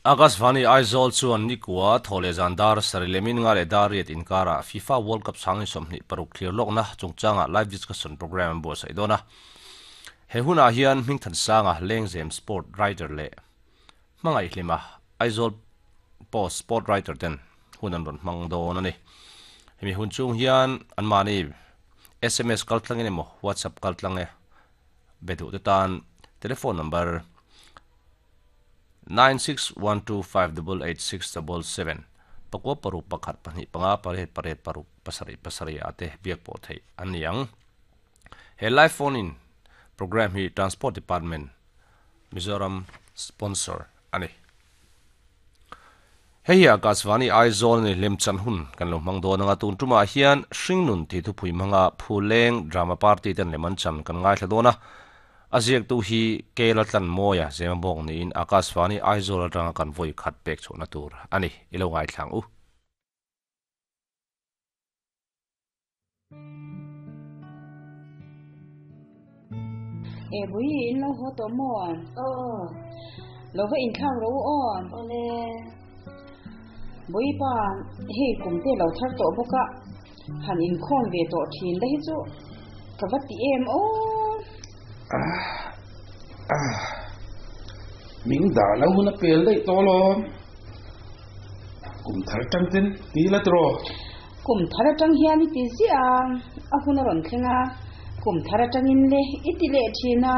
Akashvani Aizawl chuan nikua thaw leh zan dar sarih leh min nga leh dar riat inkarah FIFA World Cup sang 26 thlir lawkna chungchangah live discussion programme an buatsaih dawn a. He hunah hian Hmingthansanga Lengzem Sport Writer leh Hmangaihhlima Aizawl Post Sport Writer ten hun an rawn hmang dawn a ni. Hemi hun chung hian anmahni sms kaltlangin emaw WhatsApp kaltlang e be duhte tan telephone number 9612588677, pakua paruk pakhat pahnih panga pariat pariat paruk pasarih pasarih ah te biak pawh theih an ni ang. He live phone in programme hi Transport Department, Mizoram sponsor a ni. Hei hi Akashvani Aizawl ni lemchan hun kan lo hmang dawn anga tun tumah hian Hringnun tih thupui hmanga Phuleng Drama Party ten lem an chan kan ngaithla dawn a. A ziaktu hi Kela Tlanmawia Zemabawk niin Akashvani Aizawl atanga kan vawi khat pek chhuahna tur a ni. I lo ngaithla ang u. E bui in lo haw tawh maw? Aw. Lo va inthlak rawh u aw. Awle. Bui pa, hei kum te lo thar tawh bawk a, han inkhawm ve tawh thin la hi chu ka va ti em aw. Min dah lo hun a pel daih tawh alawm. Kum thar tang ten ti la tiraw? Kum thar atang hian i ti ziah a, a hun a rawn thleng a, kum thar atangin le i ti leh thin a.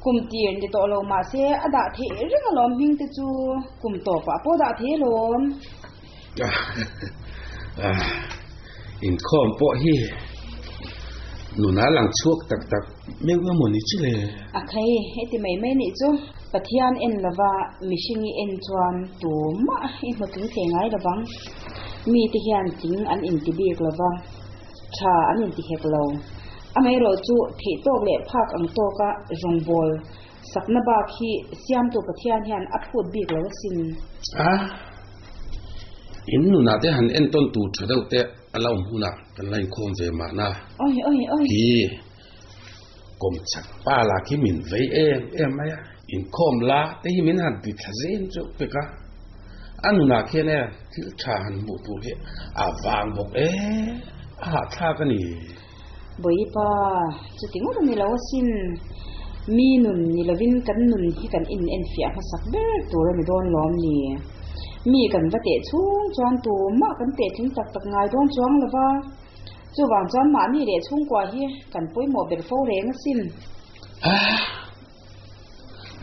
Kum tir ni tawh lo mahse a dah theih reng alawm hming te chu kum tawpah pawh dah thei alawm. Inkhawm pawh hi nuna lang chhuak tak tak meuh emaw ni chu le. A khai, heti mai mai nih chu. Pathian en lova mihring i en chuan tumah i hmu tling thei ngai lovang. Mite hian tling an inti bik lova, tha an inti hek lo. Amaherawh chu theih tawk leh phak ang tawka rawngbâwl sakna bak hi siamtu Pathian hian a phut bik lo asin. A, in nunah te han entawn tur tha deuh te a la awm hunah kan la inkhawm ve mahna. Oi, oi, oi. Khi kawmchak pa lah khi min vei em em mai a, inkhawm la te hi min han ti thla zen chu pek a, a nunah khian e thil tha han hmuh tur hi a vang bawk e, a hahthlak a ni. Bawipa, chuti ngawt a ni lo asin. Mi nun ni lovin kan nun hi kan in enfiah hmasak ber tur a ni dawn lawm ni? Mi kan va teh chhung chuan tumah kan teh tling tak tak ngai dawn chuang lo va. Chuvang chuan mahni leh chhungkua hi kan pawimawh ber fo reng asin.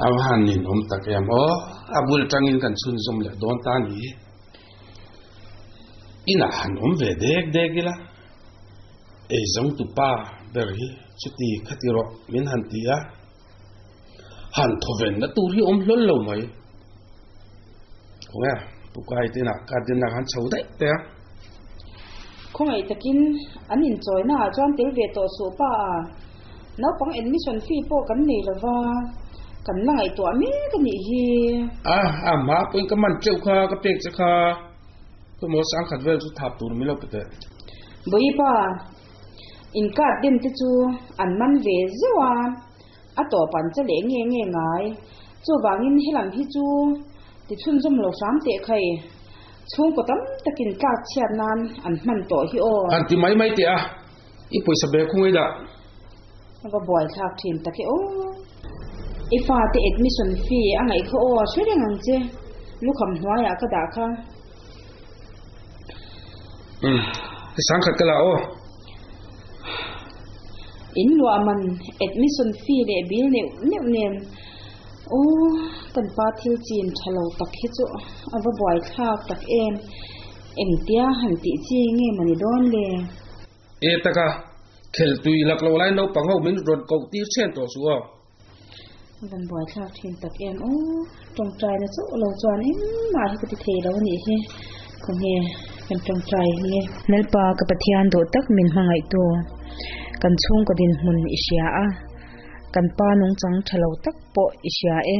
A va han ninawm tak em aw, a bul tangin kan chhunzawm leh dawn ta ni. Inah han awm ve dek dek ila, ei zawngtu pa ber hi chuti khati rawh min han ti a, han thawvenna tur hi awm hlawl lo mai. Khawnge Pukai te inah garden ah khan chho daih teh a. Khawngaih takin an inchawina ah chuan tel ve tawh suh pa a, naupang admission fee pawh kan nei lova, kan la ngaihtuah mek a nih hi. A, a hma pawhin ka man teuh kha, ka pek che kha, khawimaw sangkhat vel chu thap tur min lo pe teh. Bawipa, in card den te chu an man ve zeuh a. A tawp an che leh nge nge ngai. Chuvangin helam hi chu ti chhunzawm lo hram teh khai. Chhungkaw tam takin tlak chhiat nan an hman tawh hi aw. Han ti mai mai teh a, i pawisa bag khung ei dah. A va buai thlak thin tak e aw. I fate admission fee a ngaih kha aw, hre reng ang che. Lukham hnuaiah ka dah kha. Umm, sangkhat ka la aw. In luah man admission fee leh bill neuh neuh nen aw kan pa thil chin tha lo tak hi chu a va buai thlak tak em, engtia han tih chi nge mawni dawn le? E taka, khel tui lak lo lai naupang ho min rawn koh tir chhen tawh suh aw. Van buai thlak thin tak em aw, tawngtaina chauh lo chuan engmah hi ka ti thei lo anih hi, khawnge kan tawngtai nge. Lalpa ka Pathian duh tak min hmangaihtu, kan chhungkaw dinhmun i hria a, kan pa nungchang tha lo tak pawh i hria e,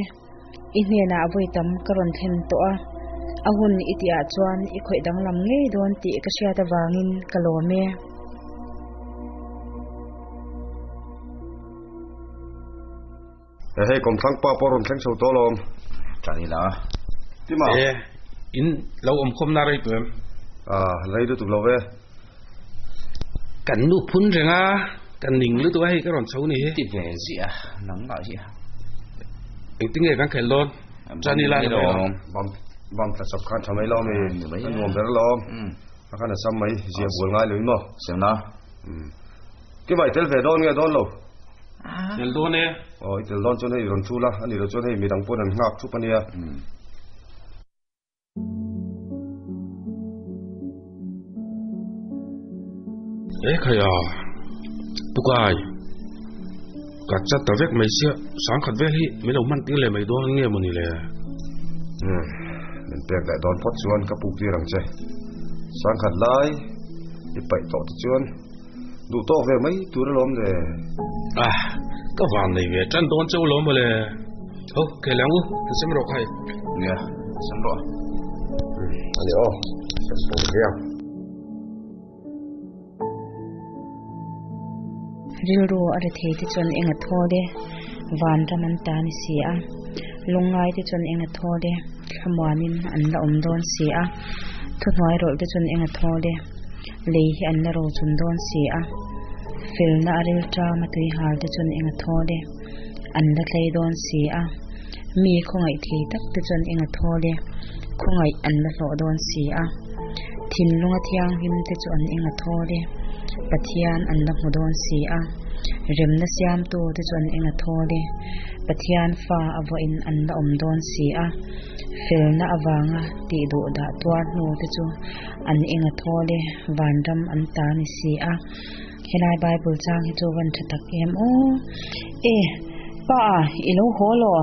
i hnenah vawi tam ka rawn thlen tawh a, a hun i tihah chuan i khawih danglam ngei dawn tih ka hriat avangin ka lawm e. Hei kawmthlang pa pawh rawn thleng chho tawh alawm. Ṭan ila. Tima. E, in lo awm khawm na rei tawh em? A, rei lutuk lo ve. Kan nu phun reng a, kan ning lutuk a hei ka rawn chho ni hi. Ti ve ziah a, nang lah hi a. Engtin nge kan khelh dawn? Ṭan ila ni mai lawm. Bam, bam tla chawp khan ṭha mai lawm i, a nuam ber lawm. A khan a sam mai, zia bual ngai lo i maw? Semna. Tima i tel ve dawn nge dawn lo? Tel dawn e. Aw, i tel dawn chuan hei i rawn thul a, a nih loh chuan hei midang pawn an nghak thup a nia. E khai a, Pukai, ka chat ta vek mai sia, sangkhat vel hi min lo hman tir leh mai dawn nge mawni le? Umm, min pek leh dawn phawt chuan ka puk tir ang che. Sangkhat lai i paih tawh te chuan Duh tawk ve mai tur alawm le. Ah, ka van nei ve tan dawn cheu lawm mawle. Ho, ke lang u, ka sem rawh khai. Nia, sem rawh. Ani aw, sem pawh hiang. Rilru a rethei te chuan eng a thawl e, vanram an ta ni si a. Lungngai te chuan eng a thawl e, thlamuanin an la awm dawn si a. Thuhnuai rawlh te chuan eng a thawl e. Lei hi an la ro chun dawn si a, felna a ril ṭam a tui hal te chuan eng a thawl e, an la tlei dawn si a, mi khawngaih thei tak te chuan eng a thawl e, khawngaih an la hlawh dawn si a, thinlunga thianghlim te chu an eng a thawl e, Pathian an la hmu dawn si a, remna siamtu te chu an eng a thawl e, Pathian fa a vawiin an la awm dawn si a, felna avanga tih duh dah tuar hnu te chu An eng a thawl e, vanram an ta ni si a. Helai Bible chang hi chu van tha tak em aw. E, pa, i lo haw law?